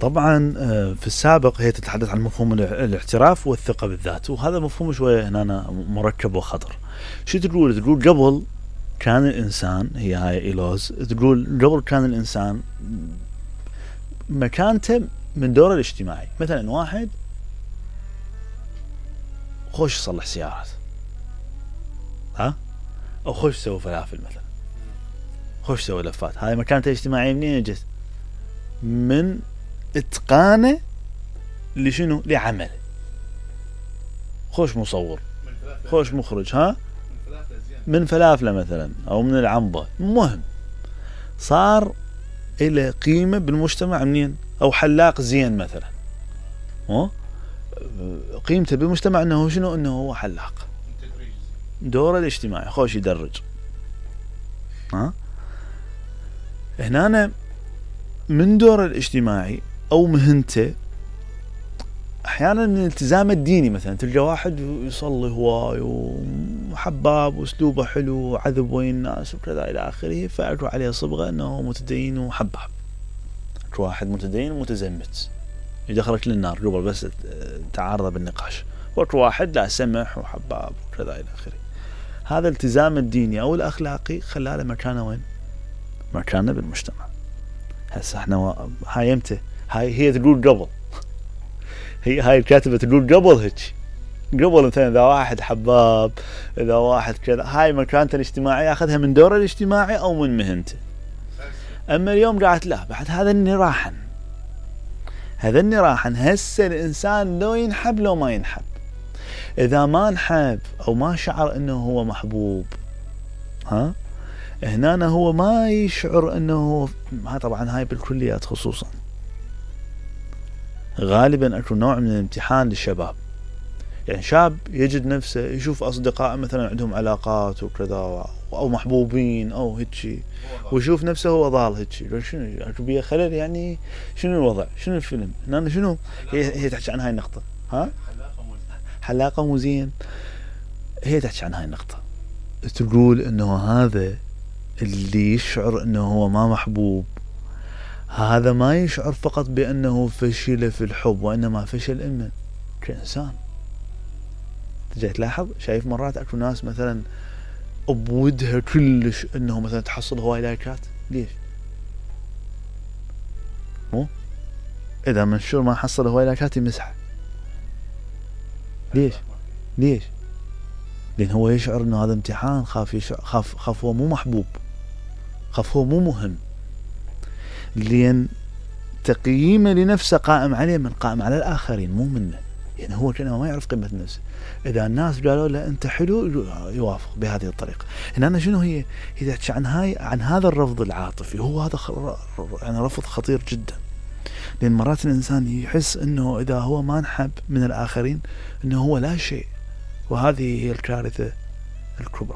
طبعا في السابق هي تتحدث عن مفهوم الاعتراف والثقة بالذات، وهذا مفهوم شوية هنا مركب وخطر. شو تقول قبل كان الإنسان، هي هاي إيلوز تقول قبل كان الإنسان مكانته من دوره الاجتماعي. مثلا واحد خوش يصلح سيارات، أو خوش يسوي فلافل، مثلا خوش يسوي لفات، هاي مكانته الاجتماعية منين جت؟ من اتقانه لشنو؟ لعمل. خوش مصور، خوش مخرج، من فلافله مثلا او من العنبة، مهم صار له قيمة بالمجتمع منين؟ او حلاق زين مثلا، قيمته بالمجتمع انه شنو؟ انه هو حلاق، دوره الاجتماعي خوش يدرج. هنا من دوره الاجتماعي او مهنته. احيانا من الالتزام الديني، مثلا تلقى واحد يصلي هواي وحباب واسلوبه حلو وعذب وين الناس وكذا الى اخره، فاكو عليه صبغه انه متدين وحباب. اكو واحد متدين ومتزمت يدخلك للنار قبل بس تعارض بالنقاش، واكو واحد لا سمح وحباب وكذا الى اخره. هذا الالتزام الديني او الاخلاقي خلاله مكانه وين؟ مكانه بالمجتمع. هسه احنا هاي امتى؟ هي تقول قبل، هاي الكاتبة تقول قبل هيك، قبل مثلا اذا واحد حباب، اذا واحد كذا، هاي مكانته الاجتماعية اخذها من دوره الاجتماعي او من مهنته. اما اليوم قاعد لا، بعد هذا النراحا، هسه الانسان لو ينحب لو ما ينحب. اذا ما انحب او ما شعر انه هو محبوب، هنا هو ما يشعر انه طبعا هاي بالكليات خصوصا غالبا اكو نوع من الامتحان للشباب. يعني شاب يجد نفسه يشوف اصدقاء مثلا عندهم علاقات وكذا او محبوبين او هيك، ويشوف نفسه هو ضال هيك، شنو اكو بيه خلل؟ يعني شنو الوضع؟ شنو الفيلم هنا؟ شنو هي تحكي عن هاي النقطة؟ حلاقة مو زين. هي تحكي عن هاي النقطة، تقول انه هذا اللي يشعر انه هو ما محبوب، هذا ما يشعر فقط بأنه فشل في الحب، وإنما فشل إنه كإنسان. تجي تلاحظ، شايف مرات أكو ناس مثلا أبودها كلش إنه مثلا تحصل هواي لايكات، ليش؟ إذا منشور ما حصل هواي لايكات يمسحه، ليش؟ لأن هو يشعر إنه هذا امتحان، خاف هو مو محبوب، خاف هو مو مهم، لأن تقييمه لنفسه قائم عليه من قائم على الآخرين مو منه. يعني هو كأنه ما يعرف قيمة نفسه. إذا الناس قالوا له أنت حلو يوافق بهذه الطريقة. هنا شنو هي تحكي عن هذا الرفض العاطفي. هو هذا يعني رفض خطير جدا، لأن مرات الإنسان يحس أنه إذا هو ما انحب من الآخرين أنه هو لا شيء، وهذه هي الكارثة الكبرى.